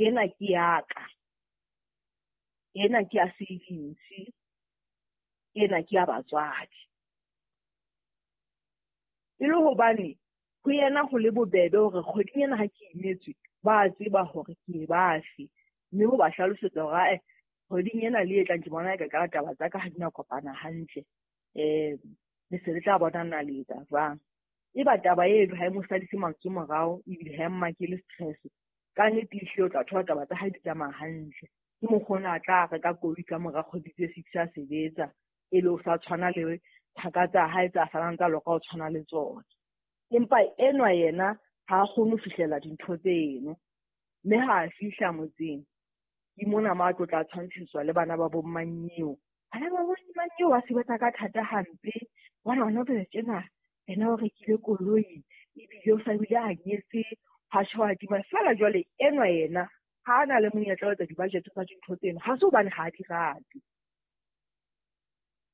Ena ke ya ka, ena ke ya savings, ena ke ya batswadi. E le hobane ho yena ho le bobebe hore kgweding ena ha ke imetswe, ba tseba hore ke bafe. Mme ho ba hlalosetsa hore ae kgweding ena le e tlang ke bona eka ka taba tsa ka ha di na kopana hantle. Le se le tla bona na le etsa jwang. Eba taba eno ha e mo sadise mantswe morao ebile ha e mmakele stress. Ka nnete ehlile o tla thola taba tsa hae di tsamaya hantle. Ke mokgwa ona a tla reka koloi ka mora kgwedi tse 6 a sebetsa, e le o sa tshwana le thaka tsa hae tsa salang tsa loka ho tshwana le tsona. Empa enwa yena ha a kgone ho fihlela dintho tseno. Mme ha a fihla motseng, ke mona mo a tlo tla tshwantshiswa le bana ba bo mmanyeo. Bana ba bo mmanyeo ba sebetsa ka thata hampe. Bona hona jwale tjena, yena o rekile koloi, ebile o sa bile a nyetse, ha tjho a tima. Feela jwale enwa yena ha a na le monyetla wa etsa di-budget tsa dintho tseno. Ha se hobane ha a di rate.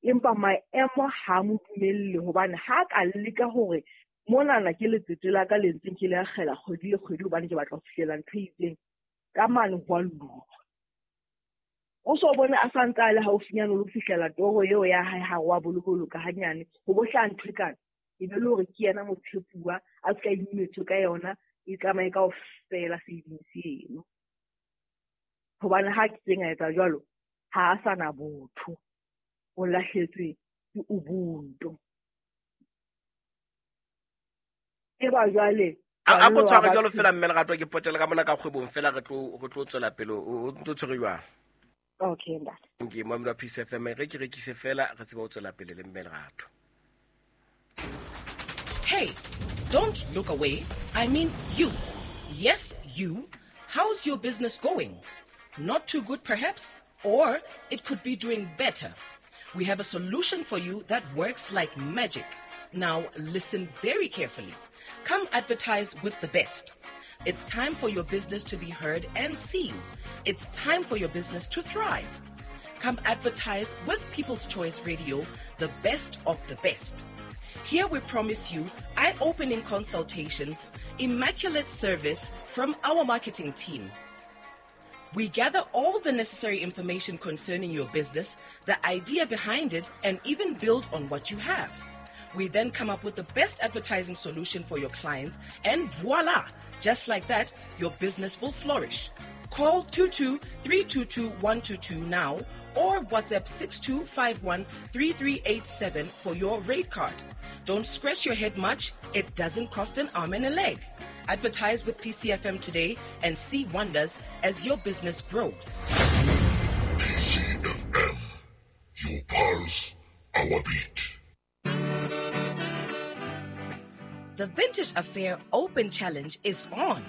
Empa maemo ha mo dumelle hobane ha ka leka hore monana ke letsete la ka le ntseng ke le akgela kgwedi le kgwedi hobane ke batla ho fihlela ntho e itseng, ka mane ho a lulwa. O so bone a sa ntse a le haufinyane le ho fihlela toro eo ya hae ha wa bolokoloka hanyane, ho bo hlaha ntho e kana, e be le hore ke yena motshepuwa a ska imetswe ka yona, e tsamaye kaofela savings eno. Hobane ha ke tseng a etsa jwalo, ha a sa na botho, o lahletswe ke ubuntu. E ba jwale a ko tshware jwalo fela mme Lerato, ke potele ka mona ka kgwebong fela re tlo tswela pele. O ntso tshwere jwang? Okay, ntate. Ke mamelo wa Peace FM, re ke rekise fela re tsebe ho tswela pele le mme Lerato. Hey, don't look away. I mean you. Yes, you. How's your business going? Not too good perhaps? Or it could be doing better. We have a solution for you that works like magic. Now listen very carefully. Come advertise with the best. It's time for your business to be heard and seen. It's time for your business to thrive. Come advertise with People's Choice Radio, the best of the best. Here we promise you eye-opening consultations, immaculate service from our marketing team. We gather all the necessary information concerning your business, the idea behind it, and even build on what you have. We then come up with the best advertising solution for your clients, and voila! Just like that, your business will flourish. Call 22-322-122 now or WhatsApp 6251-3387 for your rate card. Don't scratch your head much. It doesn't cost an arm and a leg. Advertise with PCFM today and see wonders as your business grows. PCFM, your pulse, our beat. The Vintage Affair Open Challenge is on.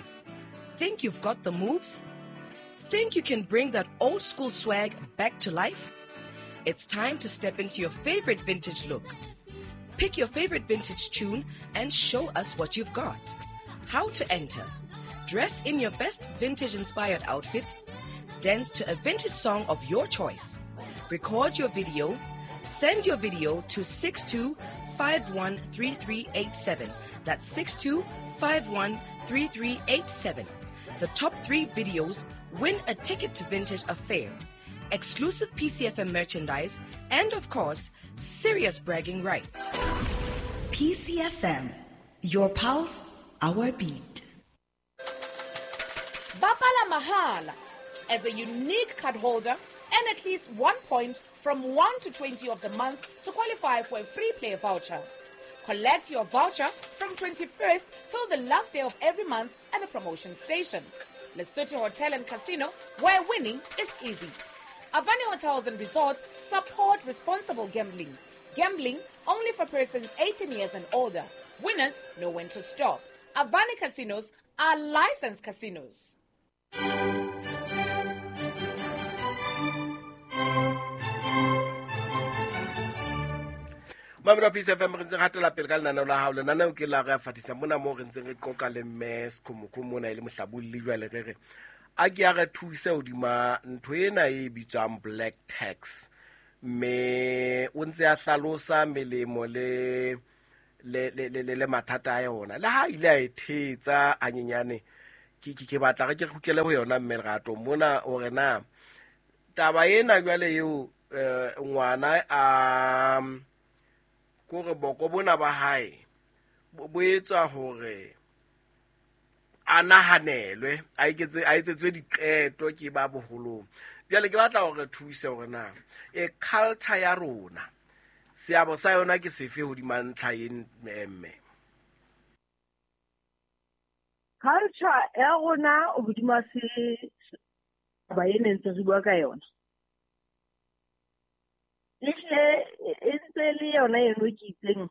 Think you've got the moves? Think you can bring that old school swag back to life? It's time to step into your favorite vintage look. Pick your favorite vintage tune and show us what you've got. How to enter? Dress in your best vintage-inspired outfit. Dance to a vintage song of your choice. Record your video. Send your video to 62513387. That's 62513387. The top 3 videos win a ticket to Vintage Affair, exclusive PCFM merchandise, and of course, serious bragging rights. PCFM, your pulse, our beat. Bapala Mahala. As a unique card holder, earn at least 1 point from 1 to 20 of the month to qualify for a free play voucher. Collect your voucher from 21st till the last day of every month at the promotion station. Lesotho Hotel and Casino, where winning is easy. Avani Hotels and Resorts support responsible gambling. Gambling only for persons 18 years and older. Winners know when to stop. Avani Casinos are licensed casinos. Mamelo Peace FM, re ntse re hatela pele ka lenaneo la hao. Lenaneo ke la re a fatisa mona moo re ntseng re qoqa le mme Sekhumukhumu mona e le mohlabolli. Jwale re re a ke a re thuse hodima ntho ena e bitswang black tax, mme o ntse a hlalosa melemo le mathata a yona. Le ha ile a e thetsa hanyenyane, Ke batla re ke kgutlele ho yona mme Lerato mona hore na taba ena jwale eo ngwana a kore boko bona ba hae bo etsa hore a nahanelwe a etsetswe diqeto ke ba boholong. Jwale ke batla hore thuse hore na e culture ya rona seabo sa yona ke sefe hodima ntlha e mme. Culture ya rona hodima se ba e ntse re bua ka yona. Ehle e ntse le yona eno ke itseng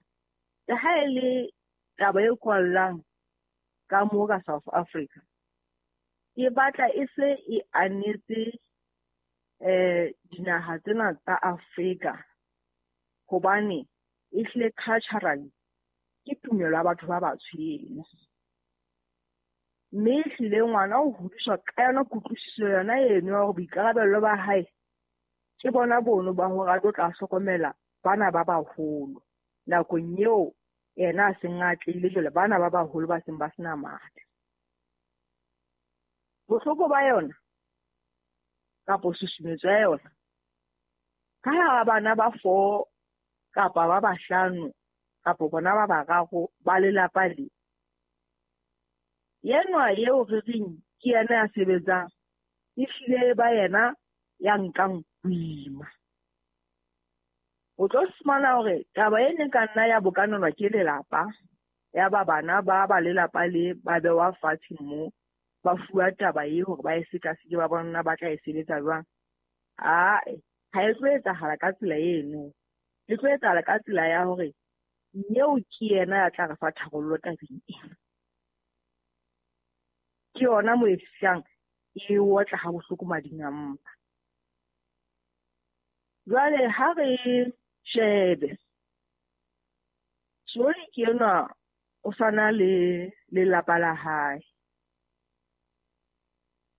le ha e le taba e kwallang ka mo ka South Africa. E batla e se e anetse dinaha tsena tsa Afrika hobane ehle culturally ke tumelo ya batho ba batsho eno. Mme ehlile ngwana o hodiswa ka yona kutlwisiso yona eno ya hore boikarabello ba hae ke bona bono ba hore a tlo tla hlokomela bana ba baholo nakong eo yena a seng a atlehile jwale bana ba baholo ba seng ba sena matla. Bohloko ba yona kapo susumetso ya yona ka hara bana ba 4 kapa ba 5 kapa bona ba 3 ba lelapa le yenwa eo re reng ke yena ya sebetsang ehlile ba yena ya nkang boima. O tlo fumana hore taba e ne ka nna ya bokanelwa ke lelapa ya ba bana ba ba lelapa le ba bewa fatshe mo ba fuwa taba e hore ba e sekaseke ba bona ba tla e sebetsa jwang. Ae, ha e tlo etsahala ka tsela eno. E tlo etsahala ka tsela ya hore eo ke yena ya tla re fa tharollo tabeng ena. Ke yona mo e fihlang e otla ha bohloko mading a mpa. Jwale ha re shebe Soli ke enwa o sana le lelapa la hae.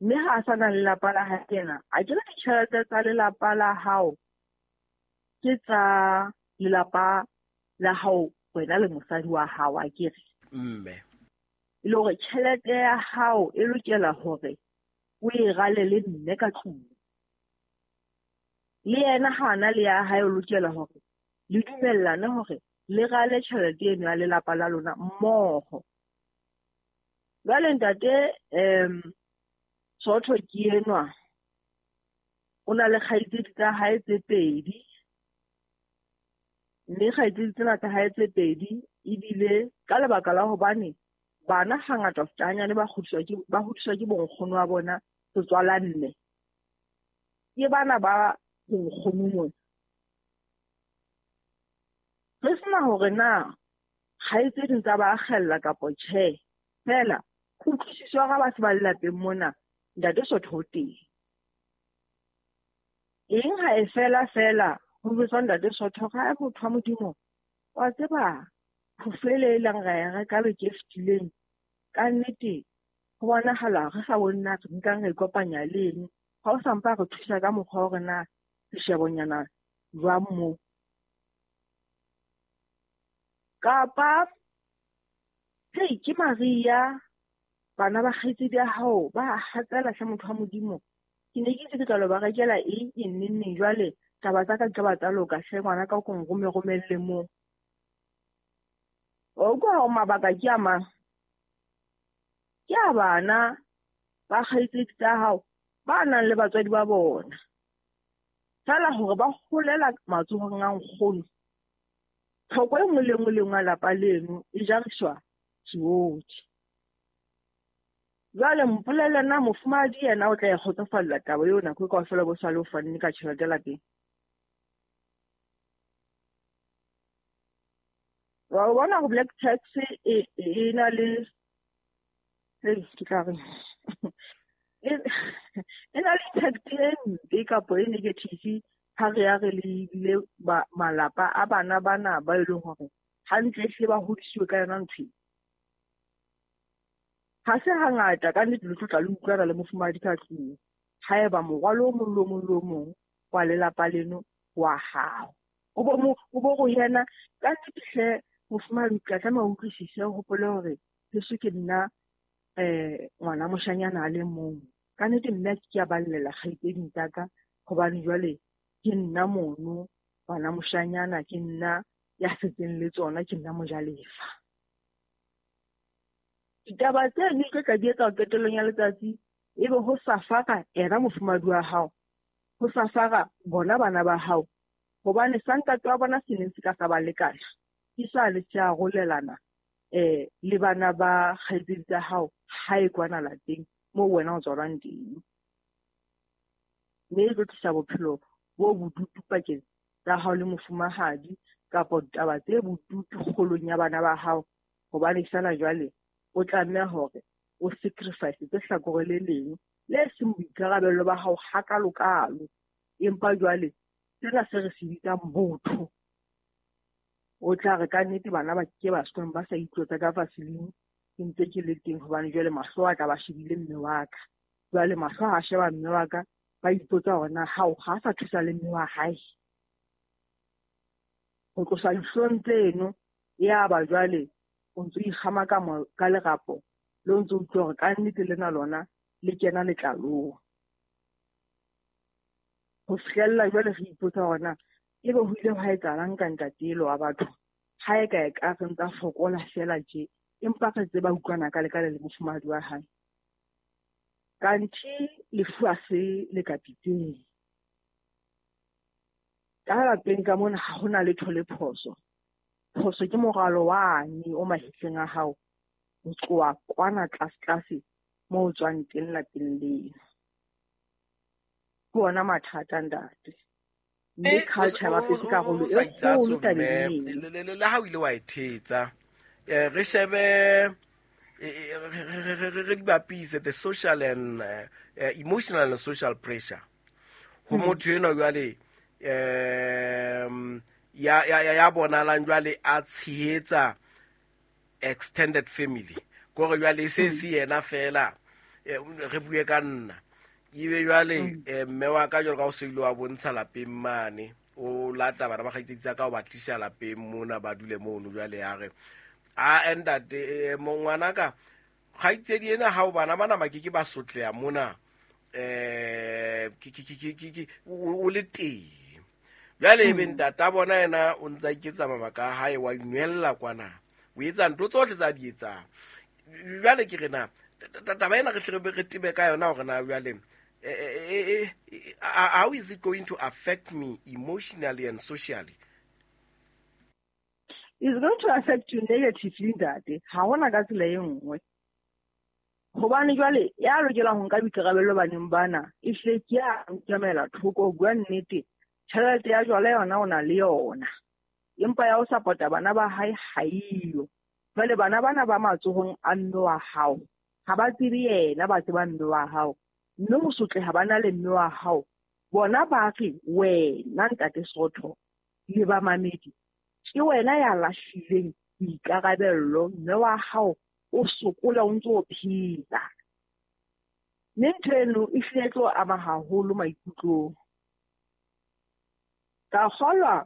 Mme ha a sana le lelapa la hae ena, a ke re ditjhelete tsa lelapa la hao ke tsa lelapa la hao wena le mosadi wa hao a ke re. Mme e le hore tjhelete ya hao e lokela hore o e rale le mme ka tlung. Le yena ha ana le ya hae o lokela hore le dumellane hore le rale tjhelete eno ya lelapa la lona mmoho. Jwale ntate Sotho ke enwa o na le kgaitsedi tsa hae tse pedi, mme kgaitsedi tsena tsa hae tse pedi ebile ka lebaka la hobane bana hangata ho feta hanyane ba hodiswa ke bonkgono wa bona setswala mme. Ke bana ba bonkgono mona. Re sena hore na kgaitsedi tsa ba akgella kapa tjhe, fela kutlwisiso ya ba se ba lelapeng mona ntate Sotho o teng. Eng ha e fela fela ho jwetswa ntate Sotho ha motho wa Modimo wa tseba phofo ele e leng ra e reka beke e fetileng ka nnete ho bonahala re sa bone na re nkang re ikopanya le eng. Ha o sa mpa re thusa ka mokgwa wa hore na seshebonyana jwang moo. Kapa hei ke Maria bana ba kgaitsedi ya hao ba hatsela hle motho wa Modimo. Ke ne ke itse ke tla lo ba rekela eng eng neng neng jwale taba tsa ka di tla ba tsa loka hle ngwana ka o ko nrome romelle moo. O utlwa hore mabaka ke a mang? Ke a bana ba kgaitsedi tsa hao ba nang le batswadi ba bona. Feela hore ba holela matsohong a nkgono. Tlhoko e nngwe le nngwe le nngwe ya lapa leno e jariswa tsohle. Jwale mpolelle na mofumahadi yena o tla e kgotsofalla taba eo nako e kaofela bo sale o fanne ka tjhelete lapeng. Wa bona hore black tax e na le ke tla re e na le impact e mpe kapo e negative ha re ya re lebile malapa a bana bana ba e leng hore hantle ehlile ba hodisiwe ka yona ntho e. Ha se hangata ka nnete le tlo tla le utlwana le mofumahadi ka tlung haeba morwalo o mong le o mong le o mong wa lelapa leno wa hao. O bo go yena ka nnete hle mofumahadi o tla tlameha o utlwisise o hopole hore heso ke nna ngwana moshanyana a le mong. Ka nnete mme a ke ke a ballela kgaitsedi tsa ka hobane jwale ke nna mono ngwana moshanyana, ke nna ya setseng le tsona, ke nna mojalefa. Ditaba tseno di tlo tla di etsa qetellong ya letsatsi ebe ho safara ena mofumahadi wa hao, ho safara bona bana ba hao, hobane sa ntate wa bona se neng se ka sa ba lekana ke sale se arolelana le bana ba kgaitsedi tsa hao hae kwana lapeng moo wena o tswalwang teng. Mme e tlo tlisa bophelo bo bodutu pakeng tsa hao le mofumahadi kapa ditaba tse bodutu kgolong ya bana ba hao, hobane feela jwale o tlameha hore o sacrifice tse hlakore le leng le seng boikarabello ba hao hakalokalo. Empa jwale sena se re se bitsang botho, o tla re ka nnete bana ba ke ba sekolong ba sa itlotsa ka vaseline ke ntse ke le teng, hobane jwale mahlo a tla ba shebile mme wa ka. Jwale mahlo ha a sheba mme wa ka, ba ipotsa hore na hao ha sa thusa le mme wa hae. Ho tlosa dihlong tseno, ya ba jwale o ntso ikgama ka lerapo le o ntso utlwa hore ka nnete lena lona le kena letlalong. Ho fihlella jwale re ipotsa hore na ebe ho ile hwa etsahalang ka ntate elo wa batho, ha e ka e ka re ntsa fokola feela tje, empa re tseba utlwana ka lekale le mofumahadi wa hae. Kanthe lefu ha se le ka pitseng. Ka lapeng ka mona ha hona letho le phoso. Phoso ke moralo wane o mahetleng a hao, ho tloha kwana tlase-tlase moo o tswang teng lapeng leno. Ke ona mathata ntate. Mme culture ba bapetse karolo e kgolo tabeng eno. Le ha o ile wa e thetsa, re shebe re di bapise the social and emotional and social pressure ho motho enwa jwale ya bonalang jwale a tshehetsa extended family, kore jwale se se yena fela, re bue ka nna ebe jwale mme wa ka jwalo ka o se ile wa bontsha lapeng mane, o lata bana ba kgaitsedi tsa ka o ba tlisa lapeng mona ba dule mono. Jwale ya re a ntate ngwana ka kgaitsedi ena ha o bana bana ba ke ke ba sotleha mona, ke o le teng. Jwale ebe ntata bona yena o ntsa iketsa mabaka a hae, wa inwella kwana, o etsa ntho tsohle tsa di etsang. Jwale ke re na taba ena re hle re tebe ka yona hore na jwale how is it going to affect me emotionally and socially? It's going to affect you negatively ntate. Ha hona ka tsela e nngwe. Hobane jwale ya lokelang ho nka boikarabello baneng bana, ehlile ke ya nkamela thoko ho bua nnete. Tjhelete ya jwala yona o na le yona, empa ya ho support-a bana ba hae ha eyo. Jwale bana bana ba matsohong a mme wa hao, ha ba tsebe yena, ba tseba mme wa hao. Mme ho sotleha ba na le mme wa hao, bona ba re wena ntate Sotho le ba mamedi, ke wena ya lahlileng boikarabello, mme wa hao o sokola o ntso o phela. Mme ntho eno e hlile e tlo ama haholo maikutlong. Ka kgolwa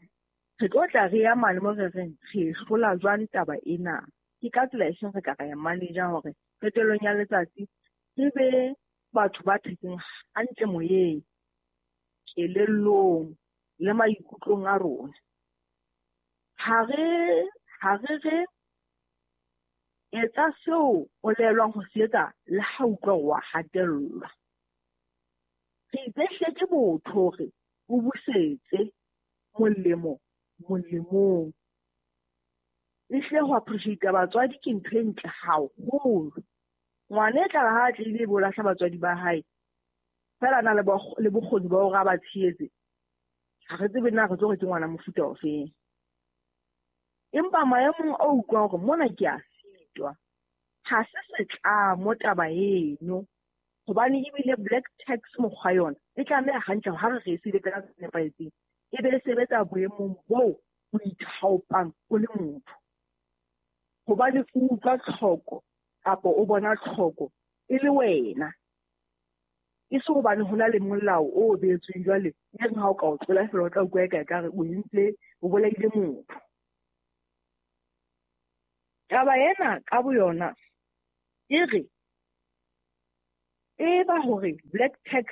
re tlo tla re ya mane mo re reng re hlola jwang taba ena. Ke ka tsela e feng re ka ra ya manager hore qetellong ya letsatsi re be batho ba phetseng hantle moyeng, kelellong le maikutlong a rona. Ha re etsa seo o laelwang ho se etsa le ha utlwa wa hatellwa. Re itse hle ke botho hore o busetse molemo molemong. Ehlile ho appreciate batswadi ke ntho e ntle haholo. Ngwana e tla re ha a tlile ebe o lahla batswadi ba hae, feela a na le bokgoni ba hore a ba tshehetse, ha re tsebe na re tlo re ke ngwana mofuta ofeng. Empa maemong a utlwang hore mona ke a sitwa, ha se setlamo taba eno, hobane ebile black tax mokgwa yona e tlameha hantle ha re re e sebetsa ka tsela e nepahetseng, e be e sebetsa boemong boo o ithaopang o le motho. Hobane o utlwa tlhoko kapa o bona tlhoko e le wena, e se hobane ho na le molao o beetsweng jwale e reng ha o ka o tlola feela o tla utlwa eka ekare o entse o bolaile motho. Taba ena ka boyona e re Tseba hore black tax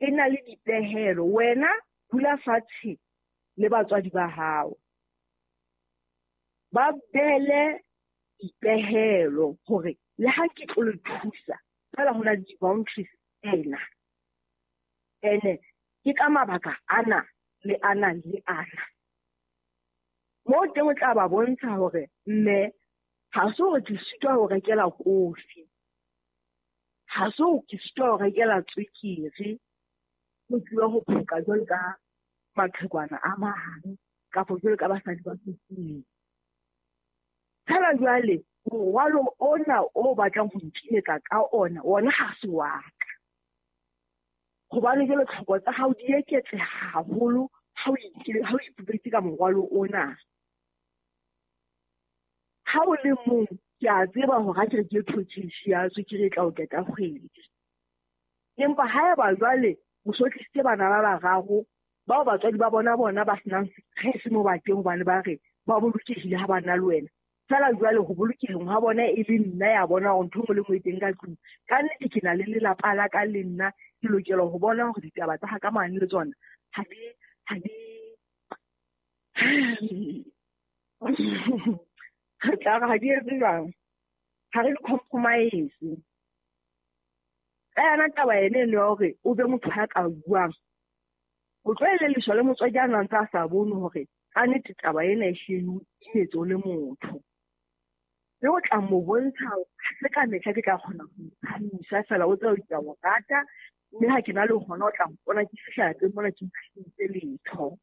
e na le dipehelo, wena dula fatshe le batswadi ba hao. Ba behele dipehelo hore le ha ke tlo le thusa, fela ho na le di-boundaries tsena. Ene ke ka mabaka ana le ana le ana. Moo teng o tla ba bontsha hore mme ha se hore ke sitwa ho rekela kofi, ha se hore ke sitwa ho rekela tswekere, ho tluwa ho phoka jwalo ka maqhekwana a mang kapa jwalo ka basadi ba tsofetseng. Fela jwale morwalo ona o batlang ho nkimetsa ka ona, ona ha se wa ka. Hobane jwale tlhoko tsa hao di eketseha haholo ha o ipupetse ka morwalo ona. Ha o le mong, ke a tseba hore ha ke re ke thotheshi ya tswekere e tla o qeta kgwedi. Empa haeba jwale o so tlisitse bana ba bararo bao batswadi ba bona ba senang stress mo bateng hobane ba re ba bolokehile ha ba na le wena. Fela jwale ho bolokeheng ha bona e le nna ya bona hore ntho e nngwe le nngwe e teng ka tlung. Ka nnete ke na le lelapa la ka le nna, ke lokela ho bona hore ditaba tsa ka mane le tsona ha di re tla re ha di etse jwang, ha re di compromise. Ka yona taba ene eno ya hore o be motho ya ka buang, o tlo elelliswa le motswadi a nang ntse a sa bone hore ka nnete taba ena e hlile o imetse o le motho. Le o tla mo bontsha ha se ka mehla ke tla kgona ho thusa, fela o tseba ke a mo rata, mme ha ke na le hona o tla mpona ke fihla lapeng mona ke ntshitse letho.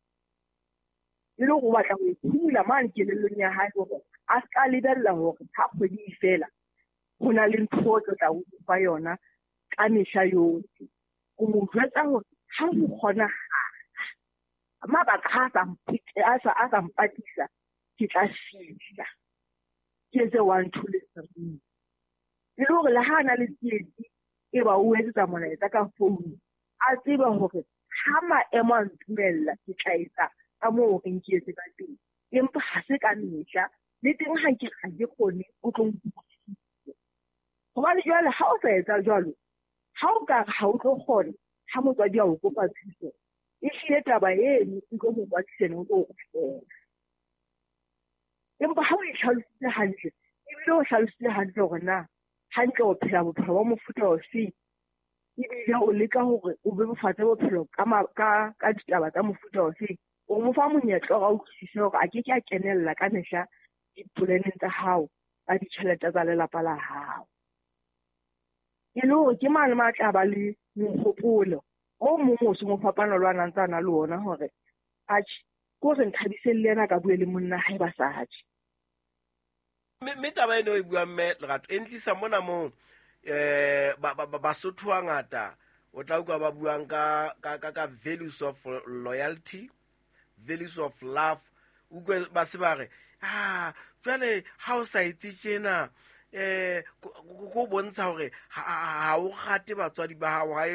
E le hore o batla ho e phumula mane kelellong ya hae hore a ska lebella hore ha kgwedi e fela ho na le ntho o tlo tla o fa yona ka mehla yohle. O mo jwetsa hore ha ho kgonahala, mabaka ha a sa mpatisa, ke tla fihla ke etse 1, 2 le 3. E le hore le ha a na le tsietsi e ba o etsetsa molaetsa ka founu, a tsebe hore ha maemo a ntumella ke tla etsa ka moo reng ke etse ka teng. Empa ha se ka mehla, le teng ha ke ha ke kgone o tlo nkutlwisise. Hobane jwale ha o sa etsa jwalo, ha o ka re ha o tlo kgona ha motswadi a o kopa thuso, e hlile taba eno e tlo mo kwatisa o tlo o kgutlela. Empa ha o e hlalositse hantle, ebile o hlalositse hantle hore na hantle o phela bophelo ba mofuta ofe, ebile o leka hore o bebofatse bophelo ka ditaba tsa mofuta ofe, o mo fa monyetla hore a utlwisise hore a ke ke a kenella ka mehla dipoleneng tsa hao tsa ditjhelete tsa lelapa la hao. E le hore ke mane ma tla ba le mohopolo o mong o seng o fapana le wa nang tsa na le ona hore atjhe, ke hore Nthabiseng le yena a ka bue le monna hae ba sa je. Mme taba eno e buang mme Lerato e ntlisa mona moo Basotho ba ngata o tla utlwa ba buang ka values of loyalty, values of love. Utlwe ba se ba re, jwale ha o sa etse tjena, ko bontsha hore ha o rate batswadi ba hao, ha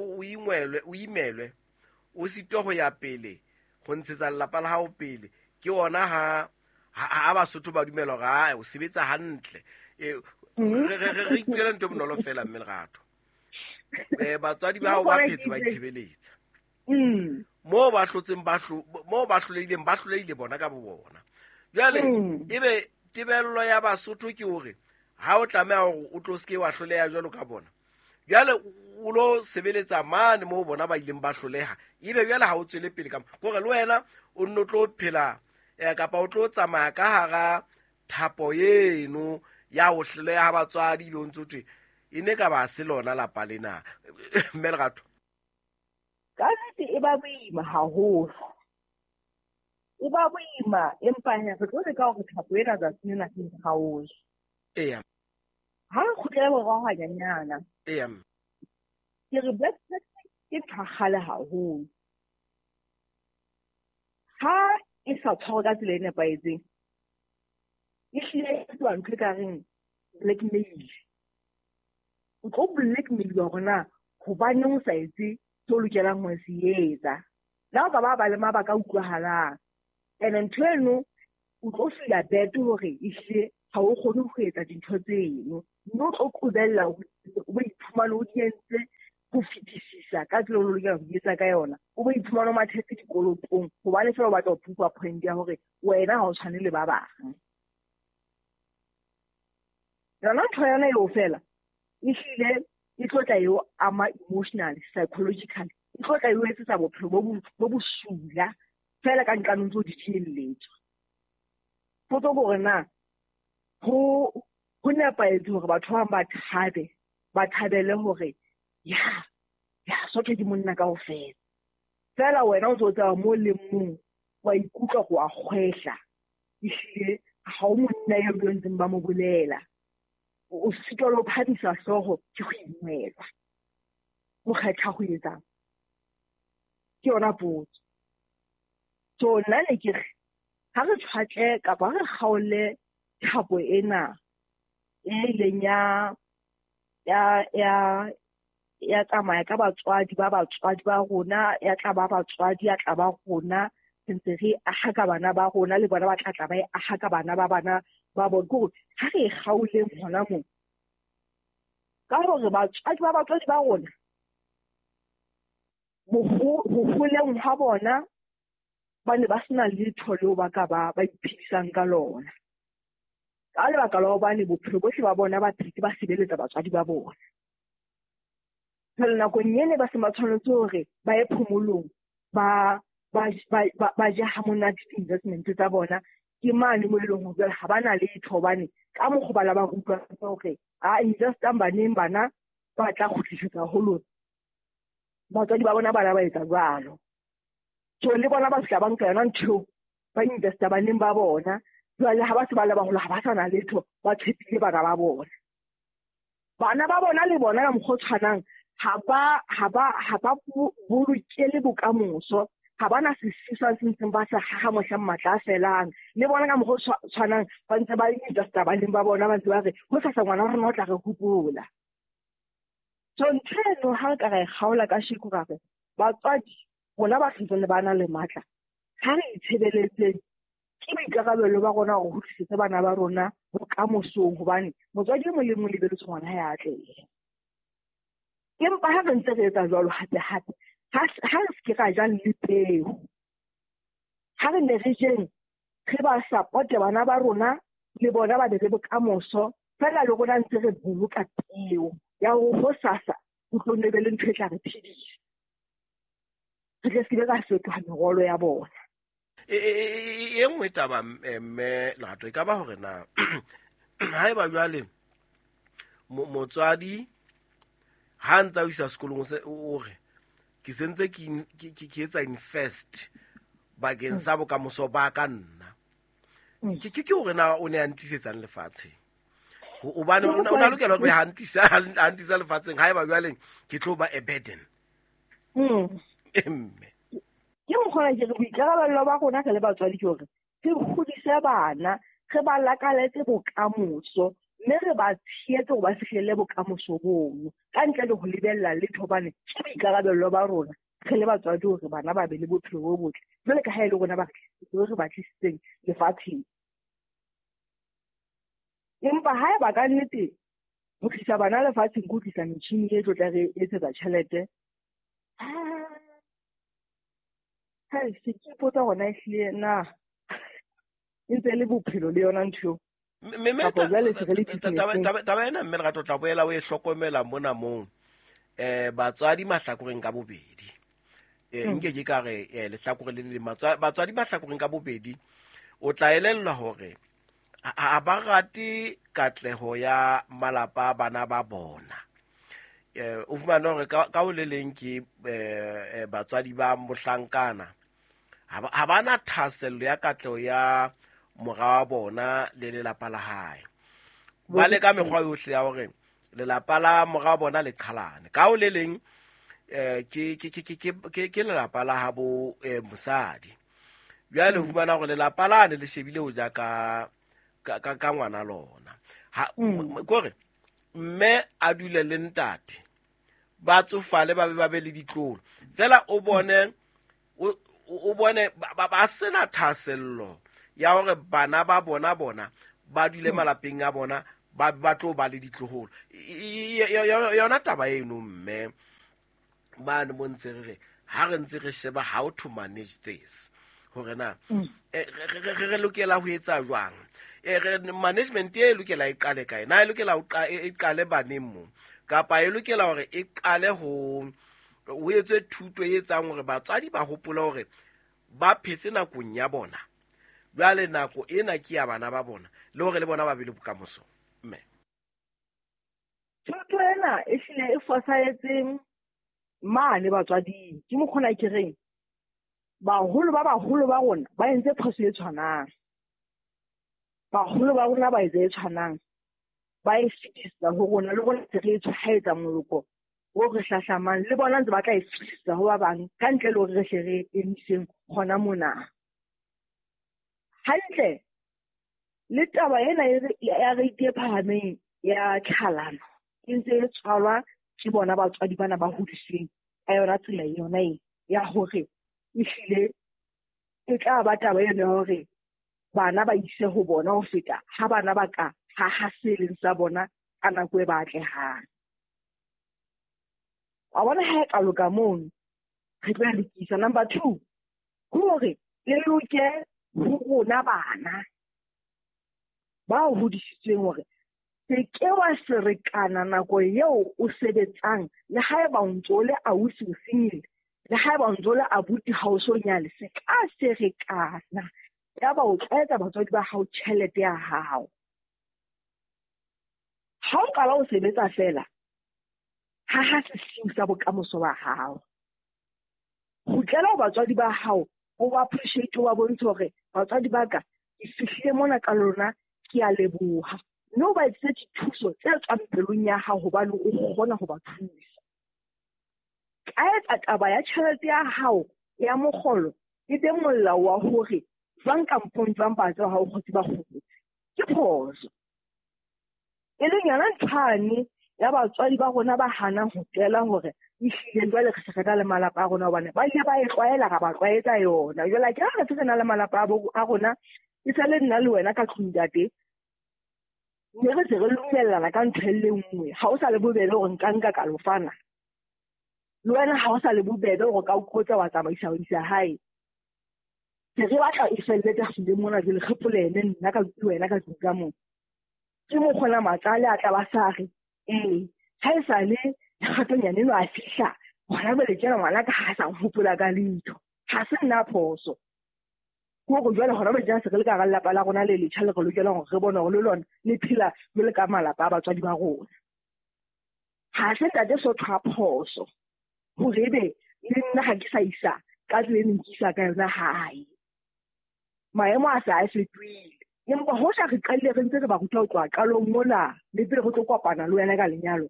o imelwe, o sitwa ho ya pele, ho ntshetsa lelapa la hao pele. Ke ona ha Basotho ba dumela hore o sebetsa hantle. Re ipuela ntho e bonolo fela mme Lerato. Batswadi ba hao ba phetse ba itshebeletsa. Moo ba hlotseng moo ba hlolehileng, ba hlolehile bona ka bo bona. Jwale ebe tebello ya Basotho ke hore ha o tlameha hore o tlo seke wa hloleha jwalo ka bona. Jwale o lo sebeletsa mane moo bona ba ileng ba hloleha, ebe jwale ha o tswele pele ka hore le wena o nno tlo phela kapa o tlo tsamaya ka hara thapo eno ya ho hloleha batswadi, ebe o ntso thwe e ne ka ba se lona lapa lena. Mme Lerato, ka nnete e ba boima haholo, e ba boima, empa he re tlo leka hore thapo ena tsatsing lena e kgaohe. Eya. Ha re kgutlele morao hanyanyana. Eya. Ke re black tax ke ntho ya kgale haholo. Ha e sa tshwarwe ka tsela e nepahetseng, e hlile e fetoha ntho e ka reng blackmail. O tlo blackmail-iwa hore na hobaneng o sa etse se o lokelang ho se etsa. Le ha o ka ba le mabaka a utlwahalang. Ene ntho eno o tlo feel-a bad hore ehlile ha o kgone ho etsa dintho tseno, mme o tlo qobella hore o bo ithuta. iphumane o di entse ho fetisisa ka tsela o lokela ho di etsa ka yona. O bo iphumane o mathetse dikolotong hobane fela o batla ho proof point ya hore wena ha o tshwane le ba bang. Yona ntho yona eo fela ehlile e tlo tla eo ama emotionally, psychologically, e tlo tla eo etsetsa bophelo bo bosula fela ka nqanong tseo di thielletswa. Potso ke hore na ho nepahetse hore batho ba bang ba thabe, ba thabele hore ya sotho ke monna kaofela. Fela wena o ntso tseba mo le mong wa ikutlwa go a kgwehla, ehlile ha o monna eo ba ntseng ba mo bolela. O sitwa le ho phamisa hlooho ke go ingwelwa. O kgetha ho etsang? Ke yona potso. So nna ne ke re ha re tshwatle kapa re kgaole thapo ena e ileng ya tsamaya ka batswadi ba batswadi ba rona, ya tla ba batswadi, ya tla ba rona, re ntse re aha ka bana ba rona, le bona ba tla tla ba e aha ka bana ba bana ba bona. Ke hore ha re e kgaoleng hona moo, ka hore batswadi ba batswadi ba rona ho holeng ha bona ba ne ba sena letho leo ba ka ba iphedisang ka lona. Ka lebaka la hobane bophelo bohle ba bona ba phetse ba sebeletsa batswadi ba bona. Jwale nakong ene ba se ba tshwanetse hore ba ye phomolong, ba je ha monate di-investment tsa bona, ke mane mo e leng hore jwale ha ba na letho hobane ka mokgwa ba la ba rutwa hore a investang baneng bana ba tla kgutlisetsa ho lona. Batswadi ba bona ba la ba etsa jwalo. So le bona ba fihla ba nka yona ntho eo, ba investa baneng ba bona. Jwale ha ba se ba le baholo ha ba sa na letho, ba tshepile bana ba bona. Bana ba bona le bona ka mokgwa o tshwanang ha ba bolokele bokamoso, ha ba na sesiswa se ntseng ba sa haha mohlang matla a felang. Le bona ka mokgwa o tshwanang ba ntse ba investa baneng ba bona, ba ntse ba re hosasa ngwana wa rona o tla re hopola. So ntho eno ha re ka ra e kgaola kasheko ra re batswadi rona ba santsane ba na le matla, ha re itshebeletseng, ke boikarabelo ba rona hore ho tlisetse bana ba rona bokamosong, hobane motswadi e mong le mong lebeletse ngwana hae a atlehe. Empa ha re ntse re etsa jwalo hape hape, ha re se ke ra ja le peo. Ha re ne re jeng, re ba supporte bana ba rona le bona ba be le bokamoso, fela le rona ntse re boloka peo ya hore hosasa ho tlo nne be le ntho e tla re phedisa. Re tle se ke ra fetoha merwalo ya bona. E nngwe taba mme Lerato e ka ba hore na haeba jwale motswadi ha ntsa o isa sekolong o re ke sentse ke etsa invest bakeng sa bokamoso ba ka nna, ke hore na o ne a ntlisetsang lefatsheng, hobane o na lokela hore ha ntisa lefatsheng haeba jwale ke tlo ba a burden. Mme ke mokgwa ke re boikarabelo ba rona re le batswadi ke hore re hodise bana, re ba lakaletse bokamoso, mme re ba tshehetse hore ba fihlelle bokamoso bono ka ntle le ho lebella letho, hobane ke boikarabelo ba rona re le batswadi hore bana ba be le bophelo bo botle jwale ka ha e le rona ba re ba tlisitseng lefatsheng. Empa haeba ka nnete ho tlisa bana lefatsheng ke ho tlisa metjhini e tlo tla re etsetsa tjhelete, se ke ipotsa hore na ehlile na e ntse le bophelo le yona ntho eo. Taba ena mme Lerato tla boela o e hlokomela mona mong batswadi mahlakoreng ka bobedi. Nke ke ka re lehlakore le le batswadi mahlakoreng ka bobedi, o tla elellwa hore ha ba rate katleho ya malapa a bana ba bona. O fumane hore ka ho le leng ke batswadi ba mohlankana ha ba na thahasello ya katleho ya mora wa bona le lelapa la hae. Ba leka mekgwa yohle ya hore lelapa la mora wa bona le qhalane. Ka ho le leng ke lelapa la habo mosadi. Jwale o fumana hore lelapa lane le shebile ho ja ka ngwana lona. Kore mme a dule le ntate, ba tsofale ba be le ditlolo. Fela o bone ba sena thahasello ya hore bana ba bona ba dule malapeng a bona, ba tlo ba le ditloholo. Yona taba eno mme mane mo ntse re re ha re ntse re sheba how to manage this, hore na re lokela ho etsa jwang, management e lokela e qale kae, na e lokela ho e qale baneng mo, kapa e lokela hore e qale ho etswe thuto e etsang hore batswadi ba hopole hore ba phetse nakong ya bona, jwale nako ena ke ya bana ba bona, le hore le bona ba be le bokamoso. Mme thuto ena e hlile e fosahetseng mane batswading. Ke mokgona ke reng baholo ba baholo ba rona ba entse phoso e tshwanang, baholo ba rona ba etse e tshwanang, ba e fetisa ho rona, le rona se re e tshwaetsa moloko o re hlahlamang, le bona ntse ba tla e fetisa ho ba bang ka ntle le hore re hle re emiseng hona mona. Hantle le taba ena ya rate e phahameng ya tlhalano e ntse e tswalwa ke bona batswadi bana ba hodisweng ka yona tsela yona e ya hore ehlile e tla ba taba eno ya hore bana ba ise ho bona ho feta ha bana ba ka haha se leng sa bona ka nako e ba atlehang. Wa bona ha e ka loka mono, re tlo lokisa. Number 2, ke hore le loke ho rona bana ba hodisitsweng hore se ke wa serekana nako eo o sebetsang, le haeba o ntso o le ausi o single, le haeba o ntso o le abuti ha o so nyale, se ka serekana yaba o tlwaetsa batswadi ba hao tjhelete ya hao. Ha o qala o sebetsa fela, haha sesiu sa bokamoso ba hao. Kgutlela ho batswadi ba hao, o ba appreciate, o ba bontshe hore batswadi ba ka, ke fihlile mona ka lona, ke a leboha. Mme o ba etsetse dithuso tse tswang pelong ya hao hobane o kgona ho ba thusa. Ka etsa taba ya tjhelete ya hao ya mokgolo e be molao wa hore jwang kampong jwang ba tseba ha o kgotse ba kgotse. Ke phoso. E leng yona nthwane ya batswadi ba rona ba hanang ho tela hore ehlile jwale re se re na le malapa a rona, hobane ba ile ba e tlwaela, ra ba tlwaetsa yona. Jwale ke ha re se re na le malapa a rona, e sa le nna le wena ka tlung ntate, mme re se re lumellana ka ntho e le nngwe. Ha o sa le bobebe hore nka nka ka lo fana le wena, ha o sa le bobebe hore ka o kgotsa wa tsamaisa ho isa hae. Se re batla e felletse hlile mona jwale re polene nna ka le wena ka tlung ka moo. Ke mokgona matsale a tla ba sa re ee, ha e sa le kgatonyane eno a fihla hona jwale tjena ngwana ka ha sa nhopola ka letho. Ha se nna phoso. Ke hore jwale hona jwale tjena se re le ka hara lelapa la rona le letjha le re lokelang hore re bone hore le lona le phela jwale ka malapa a batswadi ba rona. Ha se ntate Sotho a phoso hore ebe le nna ha ke sa isa ka tsela e neng ke isa ka yona hae. Maemo a se a fetohile. Empa hoja re qadile re ntse re ba ruta ho tloha qalong mona le pele re tlo kopana le wena ka lenyalo,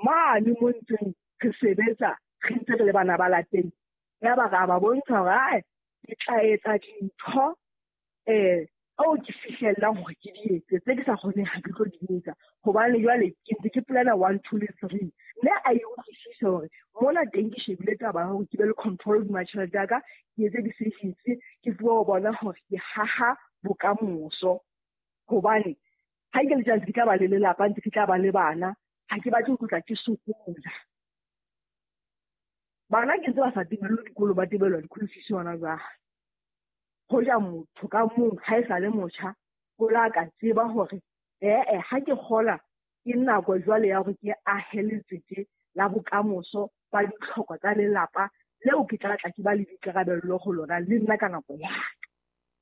mane mo ntseng re sebetsa re ntse re le bana ba lapeng, yaba ra ba bontsha hore ae ke tla etsa dintho ao ke fihlellang hore ke di etse, tse ke sa kgoneng ha ke tlo di etsa, hobane jwale ke ntse ke plana 1, 2 le 3. Mme a e utlwisise hore mona teng ke shebile taba ya hore ke be le control hodima tjhelete ya ka, ke etse di-savings, ke tsebe ho bona hore ke haha bokamoso. Hobane ha ke le tjena ke tla ba le lelapa, ntse ke tla ba le bana, ha ke batle ho tlotla ke sokola. Bana ke ntse ba sa tebellwe dikolo, ba tebellwa di-school fees hona jwale. Hoja motho ka mong ha e sa le motjha, o la ka tseba hore ha ke kgola ke nako jwale ya hore ke ahe letsete la bokamoso ba ditlhoko tsa lelapa leo ke tla tla ke ba le boikarabello ho lona le nna ka nako ya ka.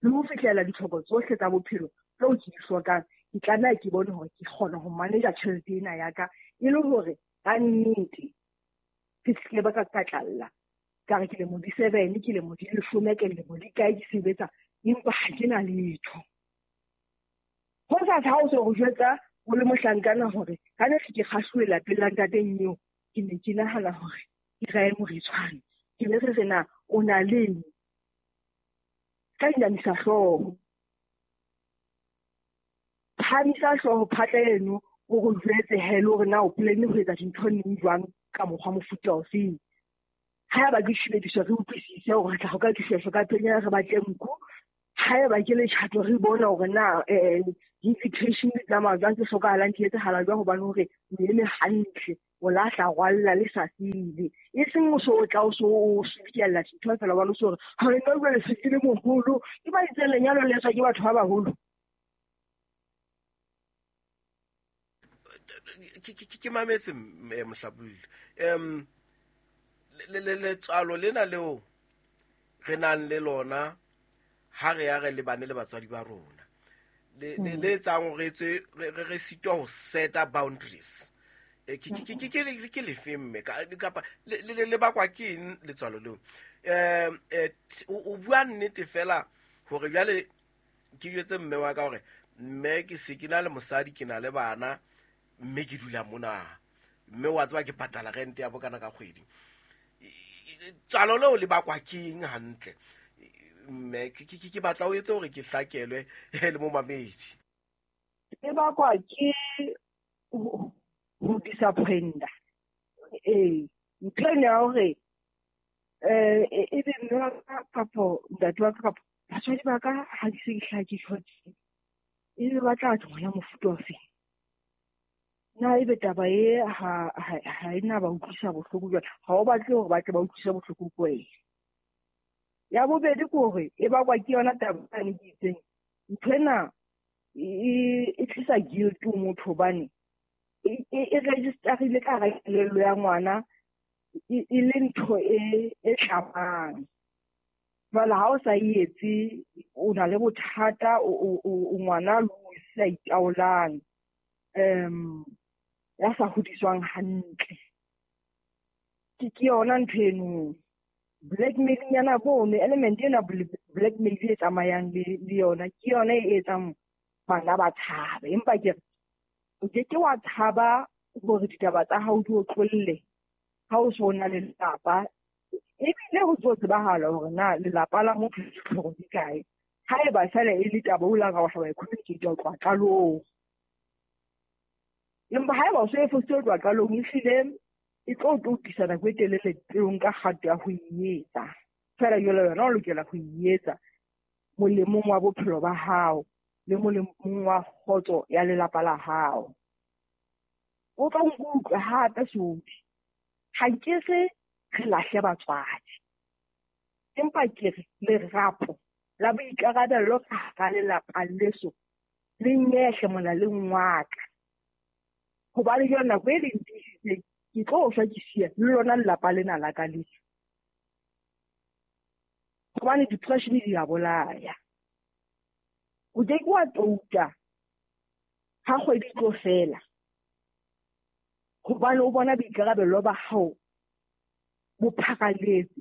Le ho fihlela ditlhoko tsohle tsa bophelo tseo ke di hlokang, ke tlameha ke bone hore ke kgona ho manage tjhelete ena ya ka e le hore ka nnete ke se ke ba ka tlalla. Ka re ke lemo di 7, ke lemo di 10, ke lemo di kae ke sebetsa, empa ha ke na letho. Ho sa ha o se ho jwetsa o le mohlankana hore ka ne ke kgahluwe lapeng la ntateng eo, ke ne ke nahana hore ke rae moretshwane. Ke be re re na o na leng? Ka inamisa hlooho. Phahamisa hlooho phatla eno o re jwetse he le hore na o plan ho etsa dintho neng jwang ka mokgwa mofuta ofeng. Haeba ke tshebediso re utlwisise hore re tla ho ka dishweshwe ka penya re batle nku. Haeba ke letjhato re bone hore na di-invitation di tsamaya jwang, tse hlokahalang di etsahala jwang, hobane hore o eme hantle, o lahla rwalla le sa sele. E seng o so o tla o so o subiella dintho feela hobane o so hore ha nna jwale se ke le moholo. Ke ba itseng lenyalo le etswa ke batho ba baholo. Ke mametse Mohlabolli. Letswalo lena leo re nang le lona ha re ya re lebane le batswadi ba rona, le etsang hore re sitwa ho seta boundaries. Ke lefe mme kapa le bakwa ke eng letswalo leo? O bua nnete fela hore jwale ke jwetse mme wa ka hore mme ke se ke na le mosadi, ke na le bana, mme ke dula mona, mme wa tseba ke patala rent ya bokana ka kgwedi. Tswalo leo le bakwa ke eng hantle? Mme ke batla o etse hore ke hlakelwe le momamedi. E bakwa ke ho disappointa. Ntho ena ya hore ebe mme wa ka kapo ntate wa ka kapo batswadi ba ka ha ke se ke hlaha ke tjho tje, ebe ba tla tlo ya mofuta o feng? Na ebe taba e ha e na ba utlwisa bohloko jwale? Ha o batle hore ba tle ba utlwise bohloko ko wena. Ya bobedi ke hore e bakwa ke yona taba ane ke itseng. Ntho ena e tlisa guilt ho motho hobane e registerile ka hara kelello ya ngwana e le ntho e tlamang. Jwale ha o sa e etse, o na le bothata, o ngwana o sa itaolang, ya sa hodiswang hantle. Ke yona ntho eno. Blackmailing yana bone, element ena blackmail e tsamayang le yona, ke yona e etsang bana ba tshabe. Empa ke re, o ke ke wa tshaba hore ditaba tsa hao di otlolle ha o so na le lelapa. Ebile ho tlo tsebahala hore na lelapa la motho le ditlhoko di kae. Haeba feela e le taba o lang wa hlaba e communicate ho tloha qalong. Empa haeba o so e fositse ho tloha qalong, ehlile e tlo tlisa nako e telele pele nka kgato ya ho e etsa. Feela jwale wena o lokela ho e etsa molemong wa bophelo ba hao le molemong wa kgotso ya lelapa la hao. O tla nkutlwa hape Sodi. Ha ke re re lahle batswadi, empa ke re lerapo la boikarabello ka hara lelapa leso le nyehle molaleng wa ka. Hobane jwale nako e leng tiisitseng, ke tlo shwa ke siya le lona lelapa lena la ka leso. Hobane depression di a bolaya. O ke ke wa touta ha kgwedi e tlo fela, hobane o bona boikarabello ba hao bo pharaletse,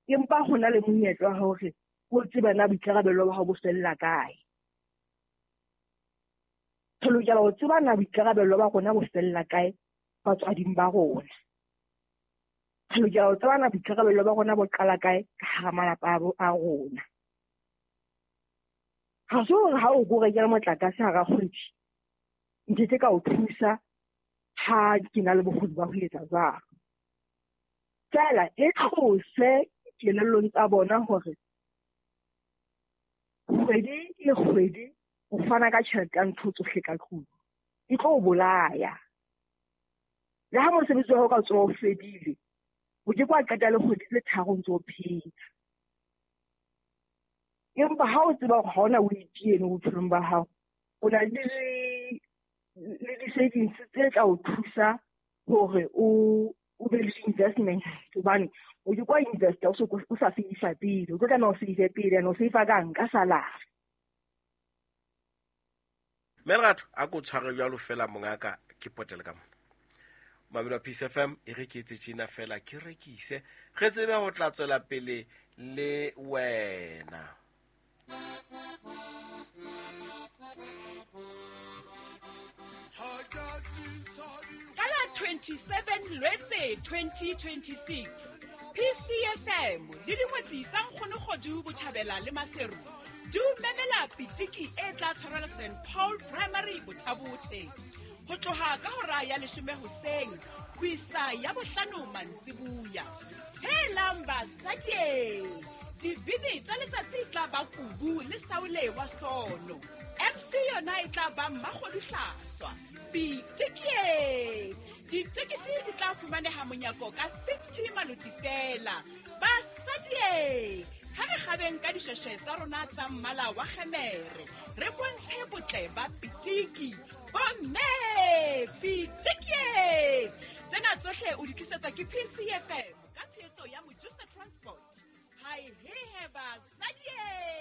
empa ho na le monyetla wa hore o tsebe na boikarabello ba hao bo fella kae. Re lokela ho tseba na boikarabello ba rona bo fella kae batswading ba rona. Re lokela ho tseba na boikarabello ba rona bo qala kae ka hara malapa a rona. Ha se hore ha o ko rekela motlakase hara kgwedi, nkeke ka o thusa ha ke na le bokgoni ba ho etsa jwalo. Feela e tlose kelellong tsa bona hore kgwedi le kgwedi o fana ka tjhelete ya ntho tsohle ka tlung, e tlo o bolaya. Le ha mosebetsi wa hao ka tsoha o fedile, o ke ke wa qeta le kgwedi tse tharo o ntso o phela. Empa ha o tseba hore ha ona weight eno bophelong ba hao, o na le di-savings tse tla o thusa hore o be le di-investment. Hobane o ke kwa investa o sa save pele, o tlo tlameha o save pele, and o save kang ka salary. Mme Lerato, a ko tshware jwalo fela mongaka, ke potele ka mona. Mamelo wa Peace FM, e re ke etse tjena fela, ke rekise, re tsebe ho tla tswela pele le wena. Ka la 27 Lwetse 2026, PCFM le dingwetsi tsa Nkgono Kgodu Botjhabela le Maseru di o memela pitiki e tla tshwarelwa St Paul Primary Bothabothe ho tloha ka hora ya 10 hoseng ho isa ya 5 mantsibuya. Helang basadi, Dibini tsa letsatsi e tla ba Kubu le Saule wa Sono. MC yona e tla ba Mmakgoduhlaswa. Pitikie! Ditekete di tla fumaneha monyako ka 50 maloti fela. Basadie! Ha re kgabeng ka dishweshwe tsa rona tsa mmala wa kgemere, re bontshe botle ba pitiki. Bomme! Pitikie! Tsena tsohle o di tlisetswa ke PCFM ka tshehetso ya Mojusa Transport. Hai hehe basadie!